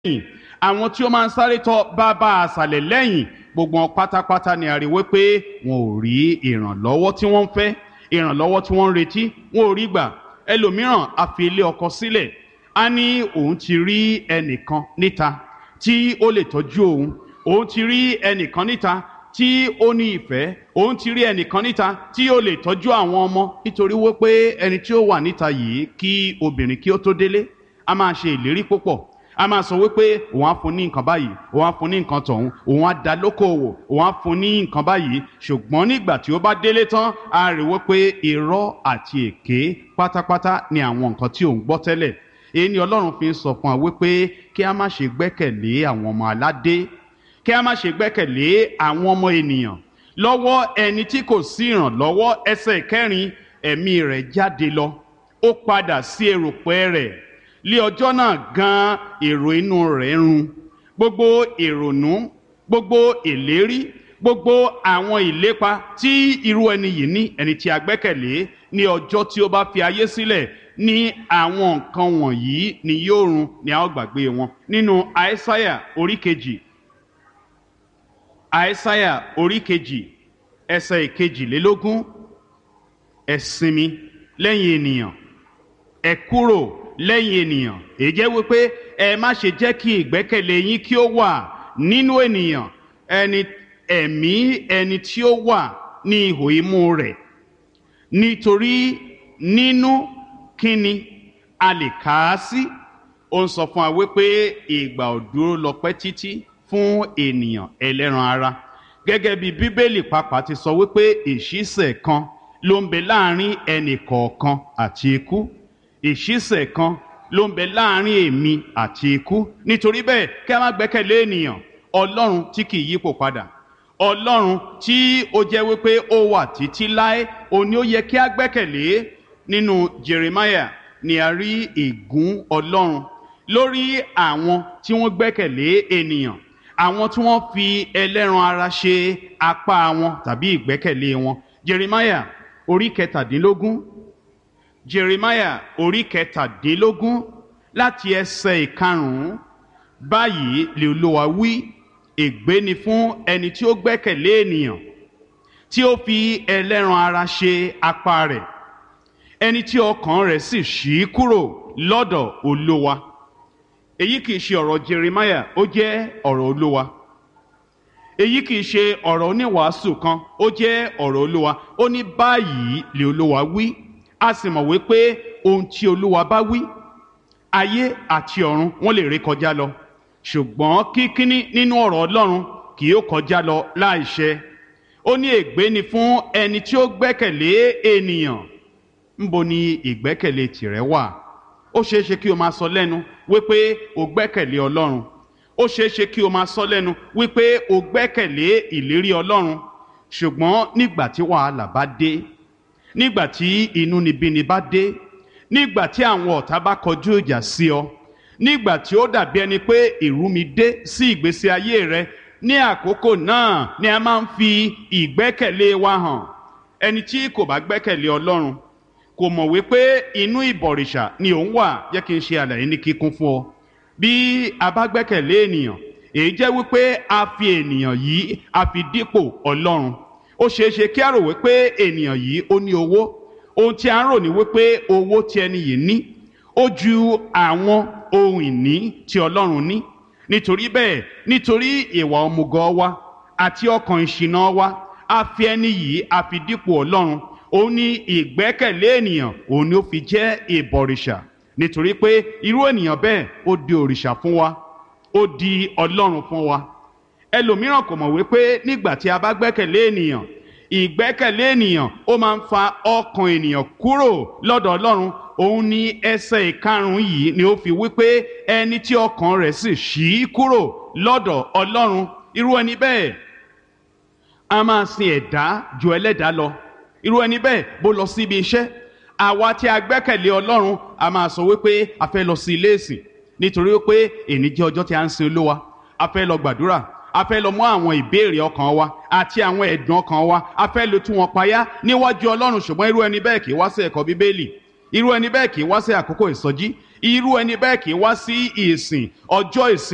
lẹ́yìn, àwọn tí ó máa ń sáré tọ bàbá àṣàlẹ̀ lẹ́yìn, gbogbo wọn pátápátá ni a rí wípé wọn ò rí ìrànlọ́wọ́ tí wọ́n ń fẹ́, ìrànlọ́wọ́ tí wọ́n ń retí, wọn ò rí gbà. Ẹlòmíràn á fi ilé ọkọ sílẹ̀, á ní òun ti rí ẹnìkan níta tí ó lè tọ́jú òun, òun ti rí ẹnìkan níta tí ó ní ìfẹ́, òun ti rí ẹnìkan níta tí ó lè tọ́jú àwọn ọmọ. Nítorí wípé ẹni tí ó wà níta yìí, kí obìnrin kí ó tó délé, a máa ṣe ìlérí púpọ̀. A máa sọ wípé òun á fún ní nǹkan báyìí, òun á fún ní nǹkan tọ̀hún, òun á da lókòwò, òun á fún ní nǹkan báyìí. Ṣùgbọ́n nígbà tí ó bá délé tán, a rí wípé irọ́ àti èké pátápátá ni àwọn nǹkan tí òun gbọ́ tẹ́lẹ̀. Èyí ni Ọlọ́run fi ń sọ fún wa wípé kí a má ṣe gbẹ́kẹ̀lé àwọn ọmọ aládé, kí a má ṣe gbẹ́kẹ̀lé àwọn ọmọ ènìyàn. Lọ́wọ́ ẹni tí kò sí ìrànlọ́wọ́. Ẹsẹ̀ kẹrin, ẹ̀mí rẹ̀ jáde lọ, ó padà sí erùpẹ̀ rẹ̀. Lé ọjọ́ náà gan èrò inú rẹ̀ run. Gbogbo ìrònú, gbogbo ìlérí, gbogbo àwọn ìlépa tí irú ẹni yìí ní, ẹni tí a gbẹ́kẹ̀lé, ní ọjọ́ tí ó bá fi ayé sílẹ̀ ní àwọn nǹkan wọ̀nyí ni yóò run, ni a ó gbàgbé wọn. Nínú Àìsáyà orí 2, Àìsáyà orí 2, ẹsẹ̀ 22, ẹ sinmi lẹ́yìn ènìyàn, ẹ kúrò lẹ́yìn ènìyàn. Èyí jẹ́ wípé ẹ má ṣe jẹ́ kí ìgbẹ́kẹ̀lé yín kí ó wà nínú ènìyàn. Ẹni ẹ̀mí ẹni tí ó wà ní ihò imú rẹ̀, nítorí nínú kíni a lè kà á sí? Ó ń sọ fún wa wípé ìgbà ò dúró lọ pẹ́ títí fún ènìyàn ẹlẹ́ran ara. Gẹ́gẹ́ bí Bíbélì pàápàá ti sọ wípé ìṣísẹ̀ kan ló ń bẹ láàrin ẹnì kọ̀ọ̀kan àti ikú. Ìṣísẹ̀ kan ló ń bẹ láàrin èmi àti ikú. Nítorí bẹ́ẹ̀, kí a má gbẹ́kẹ̀lé ènìyàn. Ọlọ́run tí kì í yípo padà, Ọlọ́run tí ó jẹ́ wípé ó wà títí láé, òun ni ó yẹ kí a gbẹ́kẹ̀lé. Nínú Jeremiah ni a rí ègún Ọlọ́run lórí àwọn tí wọ́n gbẹ́kẹ̀lé ènìyàn, àwọn tí wọ́n fi ẹlẹ́ran ara ṣe apá wọn tàbí ìgbẹ́kẹ̀lé wọn. Jeremiah orí 17, Jeremiah orí 17, láti ẹsẹ̀ 5. Báyìí lè Olúwa wí: ègbé ni fún ẹni tí ó gbẹ́kẹ̀lé ènìyàn, tí ó fi ẹlẹ́ran ara ṣe apá rẹ̀, ẹni tí ọkàn rẹ̀ sì ṣí kúrò lọ́dọ̀ Olúwa. Èyí kìí ṣe ọ̀rọ̀ Jeremiah, ó jẹ́ ọ̀rọ̀ Olúwa. Èyí kìí ṣe ọ̀rọ̀ oníwàásù kan, ó jẹ́ ọ̀rọ̀ Olúwa. Ó ní báyìí lè Olúwa wí. A sì mọ̀ wípé ohun tí Olúwa bá wí, ayé àti ọ̀run wọ́n lè ré kọjá lọ, ṣùgbọ́n kíkíní nínú ọ̀rọ̀ Ọlọ́run kì yóò kọjá lọ láìṣẹ. Ó ní ègbé ni fún ẹni tí ó gbẹ́kẹ̀lé ènìyàn. Ńbo ni ìgbẹ́kẹ̀lé tìrẹ wà? Ó ṣeé ṣe kí o máa sọ lẹ́nu wípé o gbẹ́kẹ̀lé Ọlọ́run. Ó ṣeé ṣe kí o máa sọ lẹ́nu wípé o gbẹ́kẹ̀lé ìlérí Ọlọ́run. Ṣùgbọ́n nígbà tí wàhálà bá dé, nígbà tí inúnibíni bá dé, nígbà tí àwọn ọ̀tá bá kọjú ìjà sí ọ, nígbà tí ó dàbí ẹni pé ìrúmi dé sí ìgbésí ayé rẹ, ní àkókò náà ni a máa ń fi ìgbẹ́kẹ̀lé wa hàn. Ẹni tí kò bá gbẹ́kẹ̀lé Ọlọ́run kò mọ̀ wípé inú ìbọ̀rìṣà ni òun wà. Jẹ́ kí n ṣe àlàyé ní kíkún fún ọ. Bí a bá gbẹ́kẹ̀lé ènìyàn, èyí jẹ́ wípé a fi ènìyàn yìí, a fi dípò Ọlọ́run. Ó ṣeé ṣe kí a rò wípé ènìyàn yìí ó ní owó. Ohun tí a ń rò ní wípé owó tí ẹni yìí ní ó ju àwọn ohun ìní tí Ọlọ́run ní. Nítorí bẹ́ẹ̀, nítorí ìwà òmùgọ̀ wa àti ọkàn ìṣìnà wa, a fi ẹni yìí, a fi dípò Ọlọ́run. Òun ní ìgbẹ́kẹ̀lé ènìyàn, òun ni ó fi jẹ́ ìbọ̀rìṣà, nítorí pé irú ènìyàn bẹ́ẹ̀ ó di òrìṣà fún wa, ó di Ọlọ́run fún wa. Ẹlòmíràn kò mọ̀ wípé nígbà tí a bá gbẹ́kẹ̀lé ènìyàn, ìgbẹ́kẹ̀lé ènìyàn ó máa ń fa ọkàn ènìyàn kúrò lọ́dọ̀ Ọlọ́run. Òun ní ẹsẹ̀ 5 yìí ni ó fi wípé ẹni tí ọkàn rẹ̀ sì ṣí kúrò lọ́dọ̀ Ọlọ́run, irú ẹni bẹ́ẹ̀ a máa sin ẹ̀dá ju ẹlẹ́dàá lọ. Irú ẹni bẹ́ẹ̀ bó lọ síbi iṣẹ́, àwa tí a gbẹ́kẹ̀lé Ọlọ́run a máa sọ wípé a fẹ́ lọ sí ilé ìsìn, nítorí wípé èní jẹ́ ọjọ́ tí a ń sin Olúwa. A fẹ́ lọ gbàdúrà, a fẹ́ lọ mú àwọn ìbéèrè ọkàn wa àti àwọn ẹ̀dùn ọkàn wa, a fẹ́ lọ tú wọn payá níwájú Ọlọ́run. Ṣùgbọ́n irú ẹni bẹ́ẹ̀ kì í wá sí ẹ̀kọ́ Bíbélì, irú ẹni bẹ́ẹ̀ kì í wá sí àkókò ìsọjí, irú ẹni bẹ́ẹ̀ kì í wá sí ìsìn ọjọ́ ìsinmi.